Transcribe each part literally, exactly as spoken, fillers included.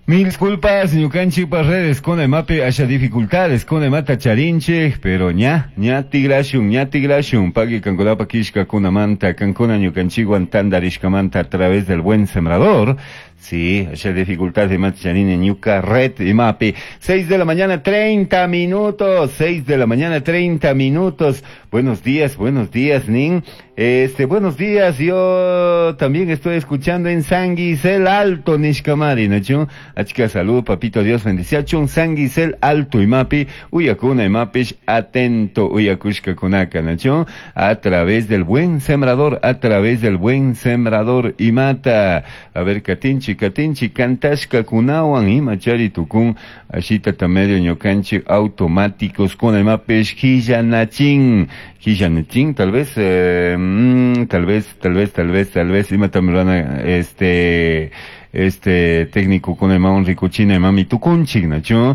Mil disculpas, ñukanchikpa redes kuna imapi asha dificultades kuna imata charinchik, pero ña, ña tigrashun, ña tigrashun, pagui kankunapa kishkakunamanta, kankuna ñukanchikwan tandarishkamanta a través del Buen Sembrador. Sí, asha dificultades imata charini ñuka red imapi. Seis de la mañana, treinta minutos, seis de la mañana, treinta minutos. Buenos días, buenos días, Nin. Este, buenos días, yo también estoy escuchando en Sanguisel Alto, nishkamari, nachu. Achka salud, papito Dios bendiciachun, Sanguisel Alto imapi, uyakuna imapish, atento, uyakushka kunaka, nachu. A través del Buen Sembrador, a través del Buen Sembrador imata. A ver, katinchi, katinchi, kantashka kunawan, imachari tukun, ashita tamedio ñukanchi automáticos kuna imapish, hillanachin, hillanachin, tal vez, eh, mm, tal vez, tal vez, tal vez, tal vez, imata mirana, este, este técnico con el rikuchina imami tukunchik, nachu,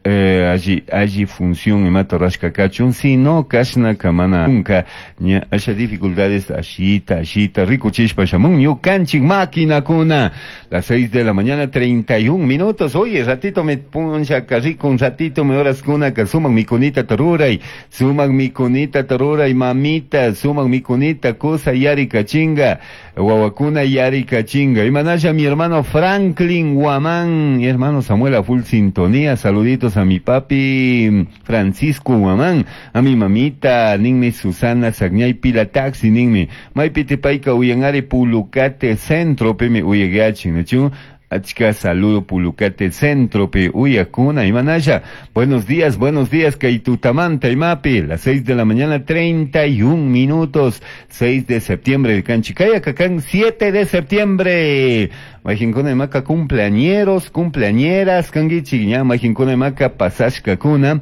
eh, allí, allí función imata rashka kachun, si no kashna kamana nunca, ña asha dificultades ashita, ashita, rikuchishpa shamun, ñukanchik máquina kuna, las seis de la mañana, treinta y un minutos, oye, ratito me puncha rico, un ratito me horas kuna, ka suman mi kunita taruray, suman mi kunita taruray, mamita, suman mi kunita, kusa yari kachinga, wawakuna yari kachinga, imanasha mi hermano Franklin Guamán, mi hermano Samuel a full sintonía, saluditos a mi papi Francisco Guamán, a mi mamita, ninmi Susana Sagñay Pila Taxi, ninmi, maypiti payka uyanari Pulucate Centro, pimi uyagachin, nachu? Achka saludo Pulucate Centro, pe uyakuna, imanasha. Buenos días, buenos días, Kaitutamanta, imapi, las seis de la mañana, treinta y un minutos, seis de septiembre, el Canchicaya, Cacán, siete de septiembre. Majinkuna imaka cumpleañeros, cumpleañeras, kangichi, ña, majinkuna imaka pasashka kuna.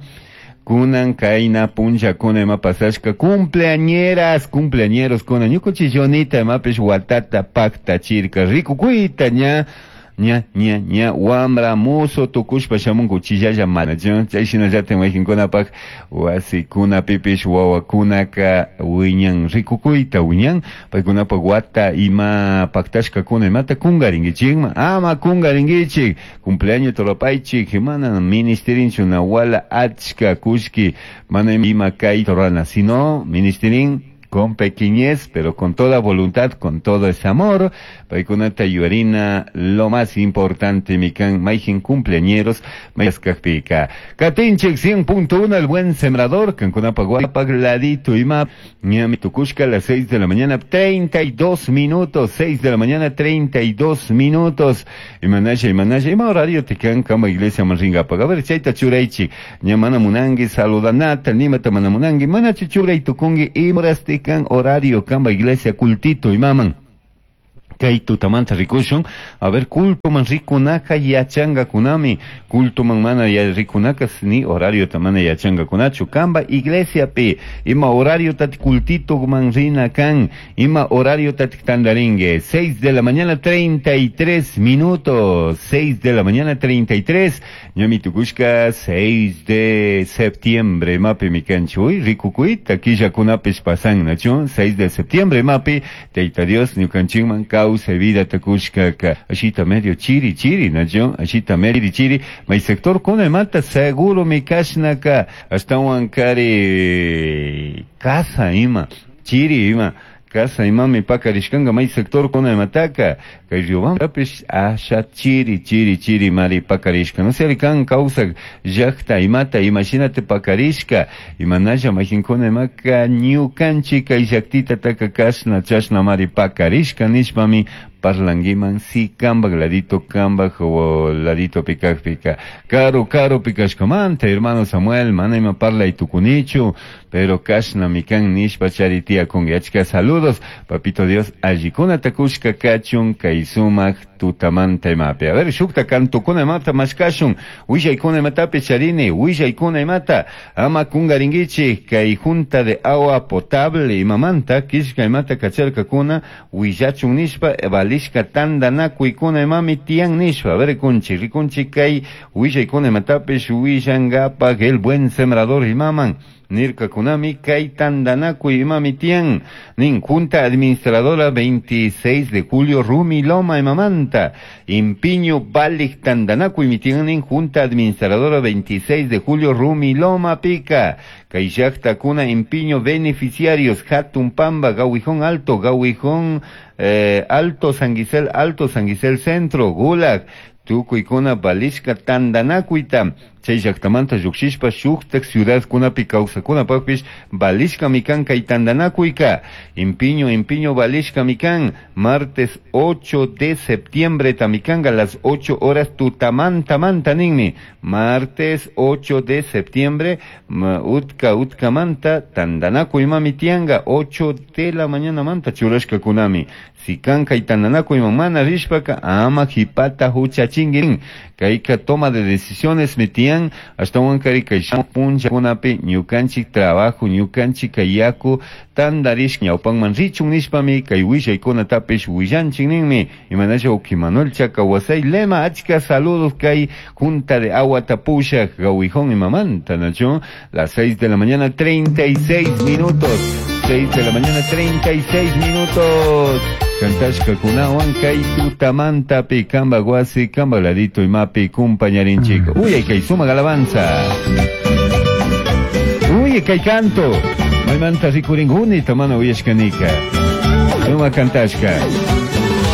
Kunan, kaina, puncha, kuna, ima pasashka, cumpleañeras, cumpleañeros, kuna, ñukuchillonita, imapish, watata, pacta, chirka, riku, kuita, ña, ña, ña, ña, wambra, muso, tukushpa, shamunku, chillalla, mana, chay shinallata, majinkuna pak, wasi, kuna, pipish, wawa, kunaka, wiñan, riku, kuita, wiñan, paykunapa, wata, ima, paktashka, kuna, imata, kungaringichikma, ama, kungaringichik, cumpleaños, toropaychik, mana, ministerinchu, nawala, achka, kushki, mana, ima, kay, torana, sino, ministerin, con pequeñez, pero con toda voluntad, con todo ese amor. Paykunata yuarina, lo más importante, mikan, mayjin cumpleañeros, mayascajpica. Katinchik cien punto uno, el Buen Sembrador, kankunapa guapagladito ima, ñami tukushka a las seis de la mañana, treinta y dos minutos, seis de la mañana, treinta y dos minutos. Imanasha, imanasha, ima horario te kan kama iglesia manringa. A ver, chayta churaichi, ñamana munangi, saludanata, nimata manamunangi, manachi churay tukungi, imorasti kan horario kamba iglesia cultito imaman. Kay tutamanta rikushun, a ver, culto man rikunaka yachanga kunami, culto man mana ya rikunaka ni horario tamana yachanga kunachu, kamba iglesia pi, ima horario tati cultito man rina kan, ima horario tati tandaringue, seis de la mañana treinta y tres minutos, seis de la mañana treinta y tres, ñami tukushka, seis de septiembre, mapi mikanchu, uy, rikukuita, killa kunapis pasan, nachu, seis de septiembre, mapi, teita Dios, ñukanchikman kau se vida takushka ka ashita medio chiri chiri nacho ashita medio chiri may sector kuna mata seguro mi kashnaka hasta wankari casa ima chiri ima casa imami pakarishkanga may sector kuna mataka kay Riobamba pish asha chiri chiri chiri mari pakarishka no sé kan causa llaqta imata imagínate pakarishka imanasha majinkuna imaka ñukanchik kay llaqtita taka kashna chashna mari pakarishka nishpami parlanguiman si kambak ladito kambak o ladito pikak pika caro caro pikashkamanta hermano Samuel mana ima parla y tukunichu pero kashna mikan nishpa charitia con achka saludos papito Dios allikuna takushka kachun kay sumak tutamanta imapi a ver shukta kantukuna imata mashkashun willaykuna imatapi charini willaykuna imata ama kungaringichi kay junta de agua potable imamanta kishka imata kacharkakuna willachun nishpa valishka tandanakuykuna imami tiyan nishpa a ver rikunchi rikunchi kay willaykuna imatapish willangapak el Buen Sembrador imaman Nirkakunami kay tandanakuy imami tiyan nin Junta Administradora veintiséis de julio Rumiloma imamanta Impiño valik tandanakuy mitiyan nin Junta Administradora veintiséis de julio Rumiloma pica kay llaqtakuna Impiño beneficiarios Hatun Pamba, Gawijón Alto, Gawijón eh, Alto San Gisel, Alto San Gisel Centro, Gulag, tukuykuna valishka tandanakuyta chay llaqtamanta lluqshishpa shuktak ciudadkunapi kawsakunapaqpish valishkami kan kay tandanakuyka Impiño Impiño valishkami kan martes ocho de septiembre tamikanga las ocho horas tutamanta manta ninmi martes ocho de septiembre utka utkamanta tandanakuy mami tianga ocho de la mañana manta churashkakunami si kan kay tandanakuyman mana rishpaka ama qhipata huchachinki kayka toma de decisiones mitian ashtawankari kay punllakunapi ñukanchik trabajo ñukanchik kay yaku tandarish ñawpanman richun nishpami kay willaykunatapish willanchik ninmi imanasha uki Manuel Chakawasay lema achka saludos kay Junta de Agua Tapushak Gawijón imamanta nacho las seis de la mañana treinta y seis minutos seis de la mañana treinta y seis minutos Cantashkakunawan kay tutamantapi kamba wasi kamba ladito imapi kumpañarinchik. Uy, kay sumaq alabanza. Uy, kay canto. Maymanta rikuringuni tamana uyashkanika. Sumaq cantashka.